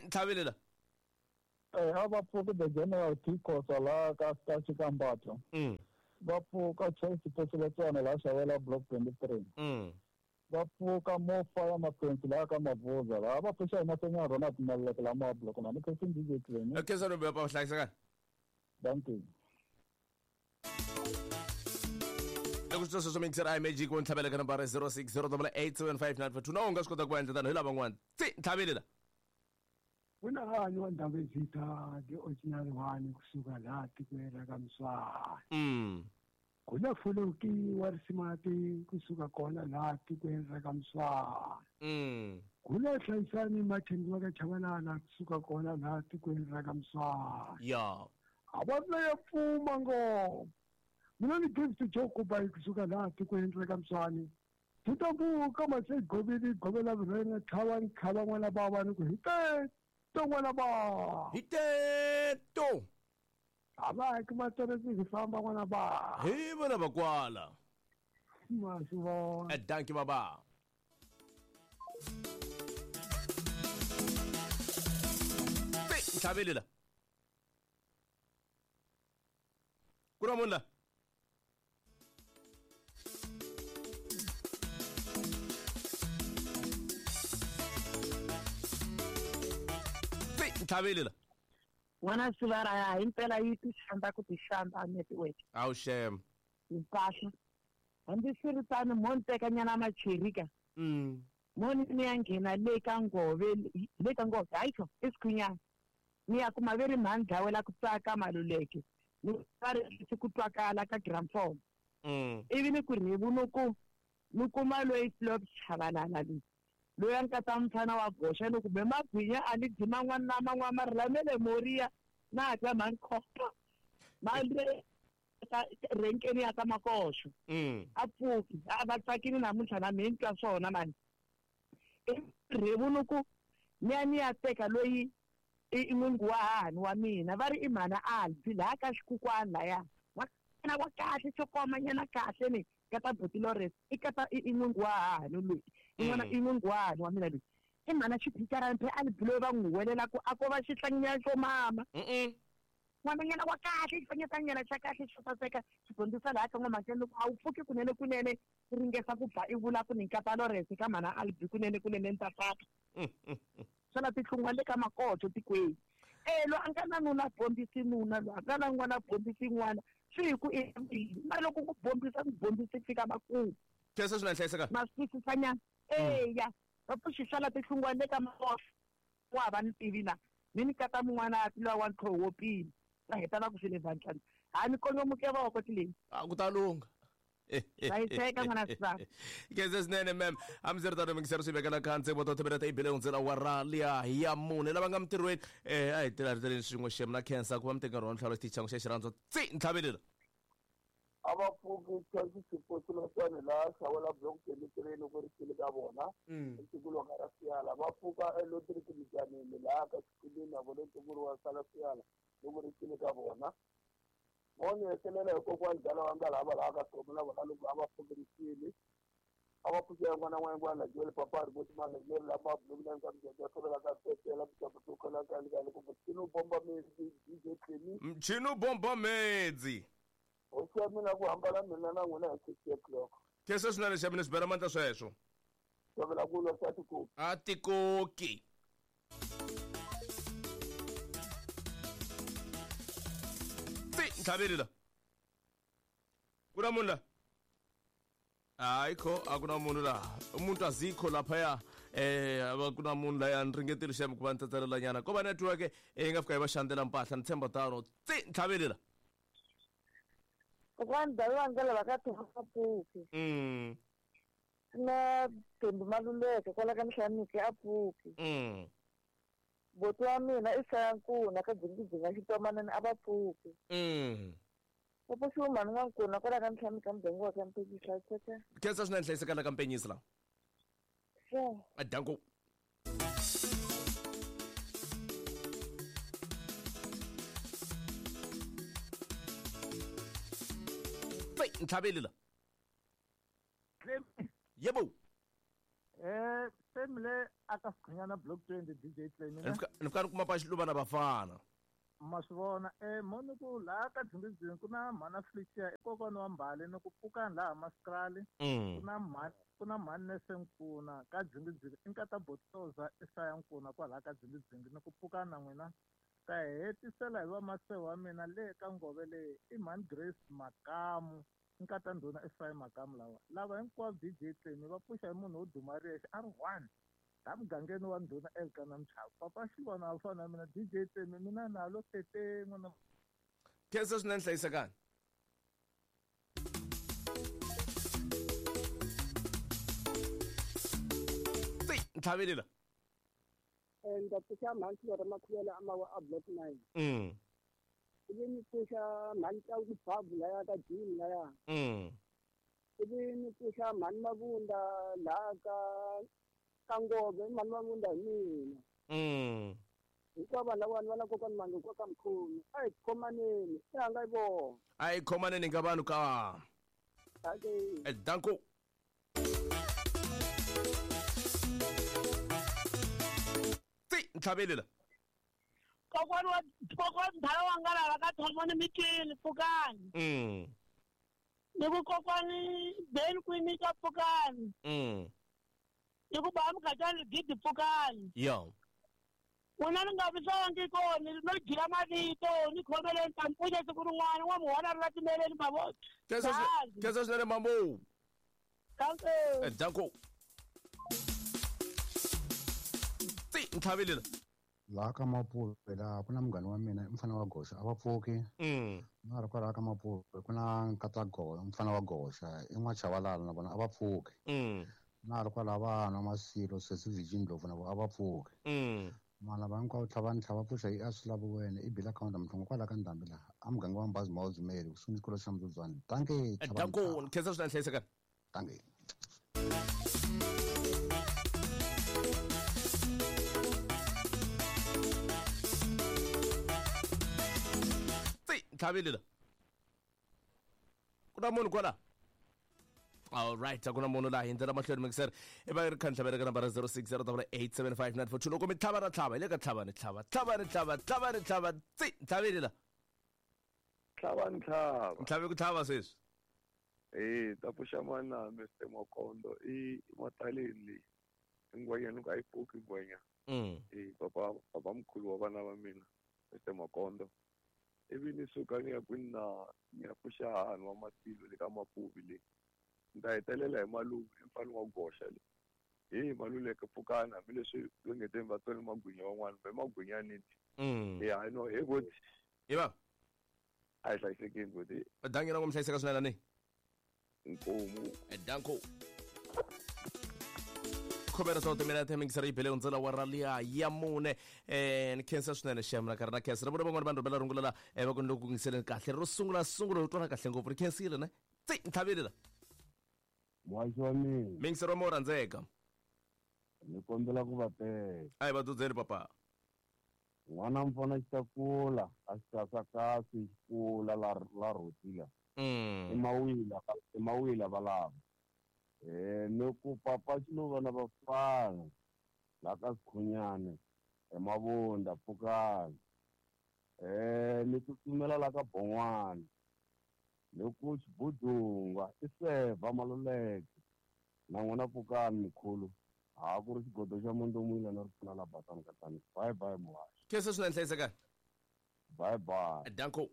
Ntlhaveli la. A va pfuki the general T-Khosa laha ka Xikambatho. Va pfuka Chelsea Posiletswana laha Xavela block 23. Va pfuka mo fire Mapensi laha ka Mavuza laha va pfuxa hi Masenya Ronald Maluleke laha ma block na ni khensi DJ Clemi. Okay, sir, pa hlayiseka. Thank you. Loko swi sweswo mixer I magic wo ntlhavela ka nambara 0608875942 na u nga swi kota ku endla tano hi lava van'wana. Tsi ntlhaveli la. Kuna hanyu wa Ndabezitha the original one kusuka laha tikweni ra ka Mswati. Kuna Fuluki wa Risimati kusuka kona laha tikweni ra ka Mswati. Kuna Hlayisani Martin wa ka Chabalala kusuka kona laha tikweni ra ka Mswati. Ya. A va na ya pfuma ngopfu. Mina ni Gift Joe Kubai kusuka laha tikweni ra ka Mswati. Titabuka mase goveli govela vurena tlhava ntlhava n'wana bava ni ku hi teto n'wana bava. Hi teto. A va ki materesi hi famba n'wana bava. Hi vona vakwala. Ma swi vona. Danki baba. Ntlhaveli la. Ku na munhu la. Ntlhaveli la. N'wana sivara ya himpela yi ti xandza ku ti xandza network. Awu shem. Mpahla. Hambi swi ri tano mo ni teka nyana macherika. Mo ni ya nghena le ka ngove le ka ngove hayi kho i sikhunyana. Ni ya kuma ve ri mhani dlawela ku tsaka Maluleke. Ni va ri ku twakala ka gramophone. Ivi ni ku rhevu ni ku ni kuma loyi Flop Chabalala loyi. Loyi a nkata mfana wa goxa ni kumbe magwinya a ni dyi man'wana na man'wana mara lamele Moria na twa mhani khopa ma le ka renkeni ya ka Makoxo. A pfuki a va tsakini namuntlha na mina ni twa swona mani. Rhevu ni ku ni ya teka loyi i n'wingi wa hahani wa mina va ri i mhana Albi laha ka xikukwana laya n'wana wa kahle xo koma nyana kahle ni kata Buti Lawrence i kata i n'wingi wa hahani loyi i n'wana i n'wingi wa hahani wa mina loyi i mhana xiphicarani phe Albi loyi va n'wi huwelela ku a ko va xihlanginyana xo mama. N'wananyana wa kahle xifanyetanyana xa kahle xo saseka xi dyondzisa laha ka n'wamakeni loko a wu pfuki kunene kunene ku ringesa ku ba i vula ku ni nkata Lawrence ka mhana Albi kunene kunene ni ta faka. Swala tihlungwa le ka Makoto tikweni. Lo a nga na nuna bombisi nuna lo a nga na n'wana bombisi n'wana swi hi ku i mara loko ku bombisa ku bombisi fika makumu. Khensa swinene hlayiseka. Ma swi twisisanyana. Eya va pfuxi swala tihlungwa le ka Makoto wa va ni tivi na ni kata mun'wana a tilowa wa ntlhoho wo pima va heta va ku swi le vandlani ha ni konyomuke voko tileni. A ku ta lungha. Hlayiseka n'wana sivara. Khensa swinene ma'am. Hambiseritano mingisero swi vekela khansi vo tothebela ta ibele hundzela wara liya ya mune lava nga mintirhweni a hi tilariteleni swin'we xem na khensa ku va mi teka nkarhi wa ntlhalo xitichi xa xirhandzo tsi ntlhaveli la. A va pfuki Chelsea Xiposiloswana laha Xawela block 23 loko ri xile ka vona. Ntukulu wa ka Rasiyala va pfuka eLotriki Mijanini laha ka Xikweleni na vona ntukulu wa Sala Siyala loko ri xile ka vona. Mo ni hetelela hi kokwani dala wa nga lava laha ka Somo na vona loko a va pfukerisile. A va pfuxela n'wana wa n'wana Joel Papa ri voti mali leri la ma block na ka Mjanja tshovela ka Petela Mjanja to kala ka ka loko Mchino bomba medzi DJ Clemi. Mchino bomba medzi. Hosi ya mina ku hambana mina na n'wina hi 6 o'clock. Khensa swinene xa mina swi bela mandla sweswo. Tshovela ku lwa swa tikoki. A tikoki. Tsi ntlhaveli la. Ku na munhu la. Hayi kho a ku na munhu laha. Umuntu azikho laphaya. A ku na munhu laya ni ringetile xem ku va ni tsetselelanyana. Ko va network yi nga fika yi va xandzela mpahla ni tshemba tano. Tsi ntlhaveli la. Kokwani Davi wa ndlela va ka Thomas pfuki. Na Thembi Maluleke kwala ka Nhlaniki a pfuki. Boti wa mina i Sayankuna ka Dzingidzinga Xitomanani a va pfuki. Popo Xiumani N'wankuna kwala ka Nhlaniki ka muganga wa ka Mpenyisi hlayiseka. Khensa swinene hlayiseka la ka Mpenyisi la. Sure. Danko. Ntlhaveli la. Yebo. Se mi le aka Sikhunyana block 20 DJ Clemi. Ni fika ni kuma pa Xiluva na Bafana. Ma swi vona mo ni ku laha ka Dzingidzingi ku na mhana Felicia i kokwana wa Mbali ni ku pfukani laha Maskrali. Ku na mhani Nese Nkuna ka Dzingidzingi i nkata Botoza Isaya Nkuna kwalaha ka Dzingidzingi ni ku pfukani na n'wina. Ta hetisela hi vamaseho wa mina le ka ngove leyi i mhani Grace Makamu nkata ndhuna Isaya Makamu lawa. Lava hinkwavo DJ Clemi va pfuxa hi munhu wo duma riyexe a ri one. La mugangeni wa ndhuna Elkana Mchava. Papa Xilwana a fana na mina DJ Clemi mina nalo tete n'wana. Khensa swinene hlayisekani. Ti ntlhavelela. Ndza pfuxa mhani Xilora Makhuvela a mawa a block 9. Ivi ni pfuxa mhani Tlaku Babu laya ka Jim laya. Ivi ni pfuxa mhani Mavunda laha ka Ngove mhani Mavunda hi mina. Hinkwavo vanhu lavawani va na kokwana Mange kwa ka Mkhulu. A hi khomaneni, i hanga hi vona. A hi khomaneni ka vanhu ka. Okay. Danko. Ti ntlhavelela. Kokwana ndhala wa nga lava ka Thomoni Mitini pfukani. Ni ku kokwani Ben Kwini ka pfukani. Ni ku ba Mukhatani Gidi pfukani. Yo. N'wina ni nga visangi kona no jila mavito ni khomeleni ta mpfunya siku rin'wana n'wa muhona ri la timeleni mavoko. Khensa swinene mambo. Danko. Danko. Ti ntlhavelela. Laha ka Mapuve laha ku na munghana wa mina i mufana wa Goxa a va pfuki. Na ri kwalaha ka Mapuve ku na nkata mufana wa Goxa i N'wachavalala na vona a va pfuki. Na ri kwalaha vanhu Masilo Sesi Virgin Ndlovu na vona a va pfuki. Mana va hinkwavo tlhava tlhava pfuxa i a swi lavi wena i bila counter mhlongo kwalaha ka Ndhambi laha a muganga wa Mbazi Mawuzimeli kusuhi ni xikolo xa Mdzudzwana. Dankie. Danko khensa swinene hlayisekani. Dankie. Ntlhavelela. Ku na munhu kwala. All right, a ku na munhu laha hi ndlela mahlweni mixer. I va ri kha ntlhavela ka nambara 0608875942 loko mi tlhava na tlhava hi le ka tlhava ni tlhava tlhava ni tlhava tlhava ni tlhava tsi ntlhavelela. Tlhava ni tlhava. Ntlhave ku tlhava sweswi. Ta pfuxa mana Mr Makondo i mataleni leyi. Ngwenya ni ku a yi pfuki ngwenya. Papa mkhulu wa vana va mina Mr Makondo. Ivi ni suka ni ya kwini na ni ya pfuxa hahani wa Masilo le ka Mapuvi le. Ni ta hetelela hi Malume i mfana wa Goxa le. Hi Maluleke pfukani hambileswi va nge te va tsone magwinya van'wana va magwinya niti. Hayi no he goti. Hi va. A hi hlayisekeni goti. Dangi na ku mi hlayiseka swinene ni. Nkomu. Danko. Khomera ta timina mixer yi bele hundzela wa raliya ya mune ni khensa swinene xem na karhi na khensa na vona van'wana vanhu rhumela rungula la va ku ni loko ku yingiseleni kahle ro sungula sungula u twana kahle ngopfu ri khensile ne tsi ntlhavelela. Muhaxi wa mina. Mixer wa mo rhandzeka. Ni kombela ku va teka. A hi va dzudzeni papa. N'wana mfana xi ta kula a xi kasakasi xi kula la rhotila. I mawila valava. Ni ku papa Xiluva na Bafana la ka Sikhunyane eMavunda pfukani. Ni tsutsumela la ka Bon'wana ni ku Xibudungwa i Sevha Maluleke na n'wina pfukani mkhulu. Ha ku ri xigodo xa Mondomwila na ripfuna la Basani Katani. Bye bye muhaxi. Khensa swinene hlayisekani. Bye bye. Danko.